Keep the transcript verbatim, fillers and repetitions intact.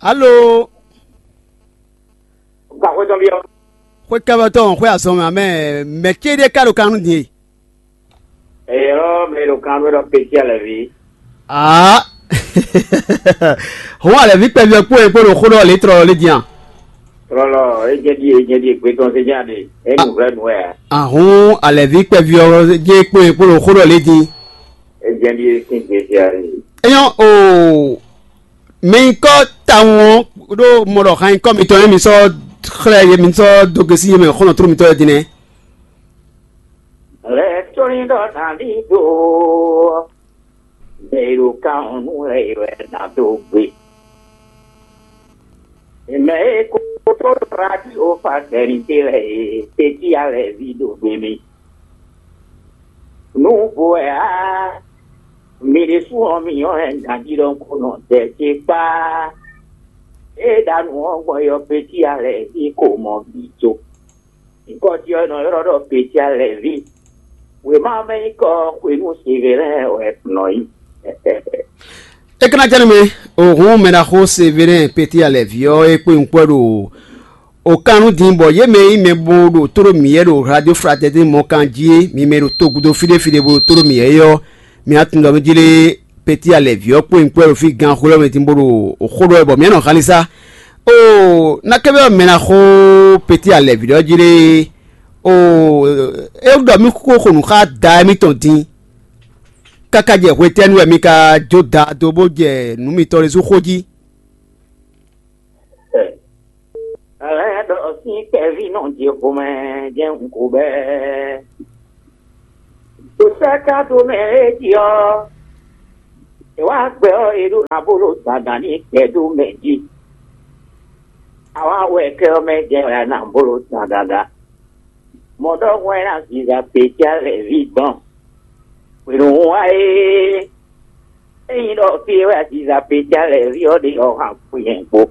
Alo. Gba xwé tɔn byɔ́. Xwé kɛ́bɛ́tɔn xwé azɔn mɛ amɛ. Mɛ céɖé ka ɖo kan nú din e? Eyɔ́ mɛ ɖo kan nú ɖɔ pécí alɛví. Aa. Hɔn alɛví kpɛví ɔ́ kpó e kpó ɖo xó ɖɔ lě tlɔlɔ lé din a? Tlɔlɔ, é jɛ ɖi é jɛ ɖi gbé tɔn sé jɛ aɖe. É nu vlɛ nu wɛ a? Ahun alɛví kpɛví ɔ́ jɛ kpó e kpó ɖo xó ɖɔ lé din. É jɛ ɖi é sín gbé sé aɖe. Eyɔn o. Mɛ nyí kɔ tawun ɔ́ ɖó mɔ ɖɔ han nyí kɔ mitɔn e mi sɔ́ xlɛ́ ye mi sɔ́ dó gosín ye mɛ xɔ́nɔtrú mitɔn e din nɛ́. Lɛ̌ tóní ɖɔ nǎ ɖi do ɔ́, mɛ e ɖo kan ɔ́ nú lɛ́ɛ wɛ ná dó gbe. Mɛ e ko tó ɖo radio fa sɛnitélɛ e tɛ́ntin alɛví ɖo gbe mì. Nǔ vo wɛ ǎ, mi ɖésú ɔ́, mi nyɔ́ hɛn ganjí ɖɔhun ko nɔ dɛ ce kpá. Ée ɖa nǔ ɔ́ gbɔn yɔ pécí alɛví ko mɔ bǐ có. Nyǐkɔ ce ɔ́ nɔ ylɔ́ ɖɔ pécí alɛví. Wěma ɔ́ mɛ nyí kɔ xwenu Sevelɛ́n wɛ nɔ nyí. É ka ná jɛ nú mi, òhun mɛ ɖaxó Sevelɛ́n pécí alɛví ɔ́ é kpé nyǐkɔ ɖo O kan nú din bɔ yě mɛ e nyí mɛ bo ɖo tóɖó mǐ yɛ ɖo Radio Fraternité mɔ kan jí é, mi mɛ e ɖo togudo fí ɖé fí ɖé bo ɖo tóɖó mǐ yɛ é ɔ́, mi wá tunwun ɖɔ mí jlé Peti Alɛ̌ví ɔ́ kpó nyí kpó wɛ ɖo fí gan xwé ɔ́ mɛ din bó ɖo xó ɖɔ wɛ bɔ mǐ nɔ xalisa. Oo, nakɛ́ bɛ́ ɔ́ mɛ ná xó Peti Alɛ̌ví ɖɔ jlé. Oo, é ɖɔ mí kó xo nǔ xá da émítɔn din, káká jɛ hwetɛ́nu wɛ mi ka jó da dó bó jɛ nǔ mitɔn ɖésú xó jí? Lɛ̌ ɖɔ sín kpɛví nɔ jɛ xomɛ jɛ́n un ko bɛ́. Ɖo sɛ́ ka dó mɛ é jí ɔ́, è wá gbɛ ɔ́, è ɖó ná bó ɖo dandan ní gbɛ dó mɛ jí. Awǎ wɛ kɛ ɔ́ mɛ jɛ wɛ a nǎ bó ɖo dandan. Mɔ ɖɔhun wɛ ná ziza Peti Alɛ̌ví gbɔn. Hwenu wá é, ényí ɖɔ fí e wɛ a ziza Peti Alɛ̌ví ɔ́ ɖe ɔ́, han kú nyɛ kpó.